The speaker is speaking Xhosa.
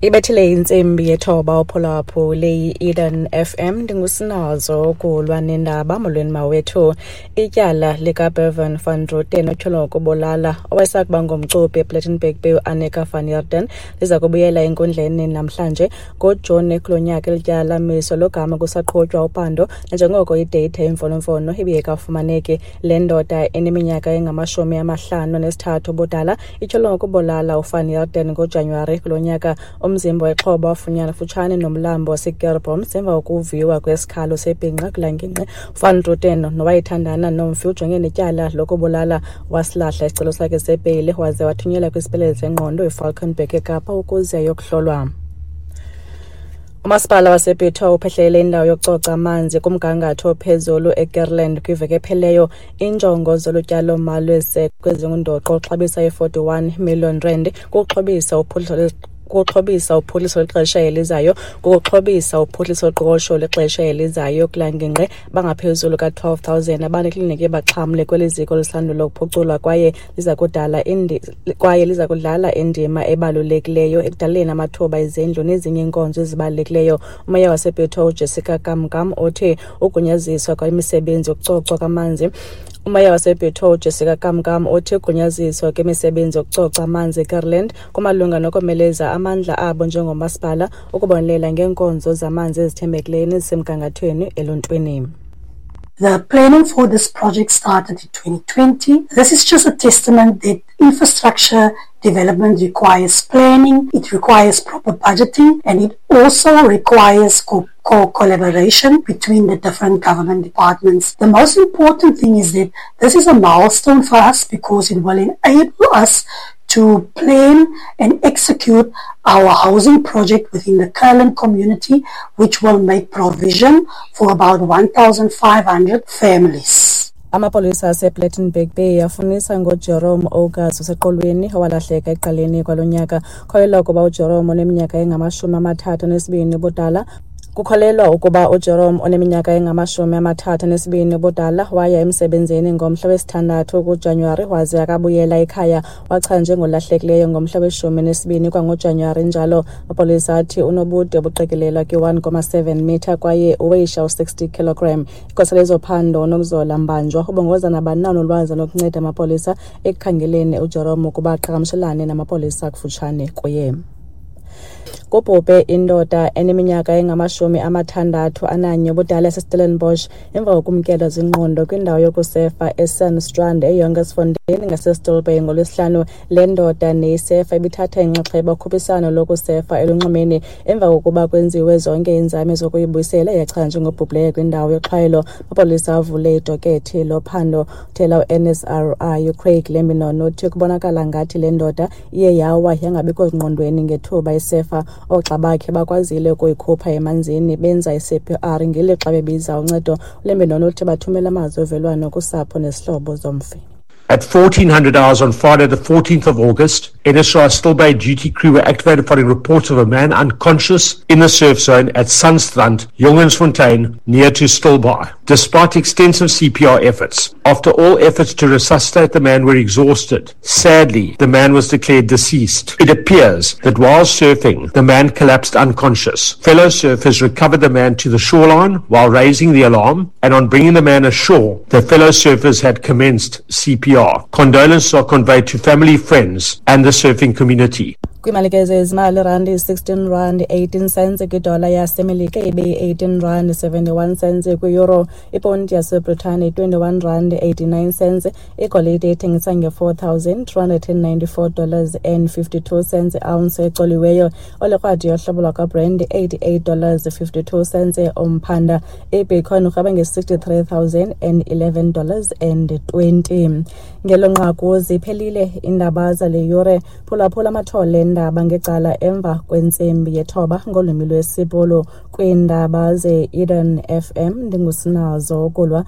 Ibethile intsimbi yethoba uphulaphule yi-Eden FM, ndingusinazo ukulwa nendaba. Molweni mawethu. Ityala likaBevan van Rooten otyholwa ngokubulala owayesakuba ngumcuphi ePlettenberg Bay uAnnika van Heerden liza kubuyela enkundleni namhlanje ngoJuni kulo nyaka. Eli tyala lamiswa logama kusaqhutywa uphando nanjengoko ideyitha yemfonomfono ibingekafumaneki. Le ndoda eneminyaka engama-53 ubudala ityholwa ngokubulala uVan Heerden ngoJanuwari kulo nyaka. Umzimba wexhoba wafunyanwa kufutshane nomlambo waseKeurboom emva kokuviwa kwesikhalo sebhinqa kulaa ngingqi. Van Rooten nowayethandana nomfi ujongene netyala lokubulala, wasilahla isicelo sakhe sebheyile waze wathunyelwa kwisibhedlele sengqondo iFalkenberg eKapa ukuze ayokuhlolwa. Umasipala wasePitoli uphehlelele indawo yokucoca amanzi kumgangatho ophezulu eGerland kwiveki ephelileyo. Iinjongo zolu tyalo-mali lweziseko ezingundoqo oxabisa i-41 million rand kukuxhobisa uphuhliso lwexesha elizayo kukuxhobisa uphuhliso loqoqosho lwexesha elizayo kulaa ngingqi. Bangaphezulu ka-12 000 abanekliniki baxhamle kweli ziko lisandula ukuphuculwa kwaye liza kudlala indima ebalulekileyo ekudaleni amathuba ezindlu nezinye iinkonzo ezibalulekileyo. Umeya wasePitoli uJessica Kamkam uthi ugunyaziswa kwemisebenzi yokucocwa kwamanzi Umeya wasePitoli uJessica Kamkam uthi ugunyaziswa kwemisebenzi yokucoca amanzi eGerland kumalunga nokomeleza amandla abo njengomasipala ukubonelela ngeenkonzo zamanzi ezithembekileyo nezisemgangathweni eluntwini. The planning for this project started in 2020. This is just a testament that infrastructure development requires planning, it requires proper budgeting, and it also requires collaboration between the different government departments. The most important thing is that this is a milestone for us because it will enable us to plan and execute our housing project within the Kurland community, which will make provision for about 1,500 families. Amapolisa asePlettenberg Bay afunisa ngoJerome August oseqolweni owalahleka ekuqaleni kwalo nyaka. Kholelwa ukuba uJerome oneminyaka engama-32 ubudala Kukholelwa ukuba uJerome oneminyaka engama-32 ubudala waya emsebenzini ngomhla wesithandathu kuJanuwari waze akabuyela ekhaya. Wachaza njengolahlekileyo ngomhla we-12 kwangoJanuwari njalo. Amapolisa athi unobude obuqikelelwa kwi-1.7 mitha kwaye uweyisha u-60 kilogram. Igosa lezophando uNokuzola Mbanjwa ubongoza nabani na onolwazi olokunceda amapolisa ekukhangeleni uJerome ukuba aqhagamshelane namapolisa akufutshane kuye. Kubhubhe indoda eneminyaka engama-61 ubudala yaseStellenbosch emva kokumkelwa zingqondo kwindawo yokusefa eSandstrand eJongensfontein ngaseStilbay ngoLwesihlanu. Le ndoda neyisefa ibithatha inxaxheba kukhuphiswano lokusefa elunxwemeni. Emva kokuba kwenziwe zonke iinzame zokuyibuyisela, yachaza njengobhubhileyo kwindawo yoxhwayelo. Amapolisa avule idokethi lophando. Uthela uNSRI uCraig Lambinon uthi kubonakala ngathi le ndoda iye yawa yangabikho zingqondweni ngethuba isefa. Oogxa bakhe bakwazile ukuyikhupha emanzini benza i-CPR ngelixa bebiza uncedo. ULambinon uthi bathumela amazwi ovelwano kusapho nezihlobo zomfi. At 1400 hours on Friday, the 14th of August, NSRI Still Bay duty crew were activated following reports of a man unconscious in the surf zone at Sandstrand, Jongensfontein, near to Stilbaai. Despite extensive CPR efforts, after all efforts to resuscitate the man were exhausted, sadly, the man was declared deceased. It appears that while surfing, the man collapsed unconscious. Fellow surfers recovered the man to the shoreline while raising the alarm, and on bringing the man ashore, the fellow surfers had commenced CPR. Condolences are conveyed to family, friends, and the surfing community. Kwimalike zezimali, irandi yi-16 rand 18 cents kwidola yaseMelika, ibe yi-18 rand 71 cents kwi-euro. Iponti yaseBritane 21 rand 89 cents. Igolide ithengisa nge-$4,294 and 52 cents ounce ecoliweyo. Olekrwada yohlobo lwakwaBrent $88 52 cents umphanda. Ibitcoin urhweba nge-$63,011 and 20. Ngelo nqaku ziphelile iindaba zale yure. Phulaphula amathole eendaba ngecala emva kwentsimbi yethoba ngolwimi lwesiBhulu kwiindaba ze-Eden FM. Ndingusinazo Kulwa.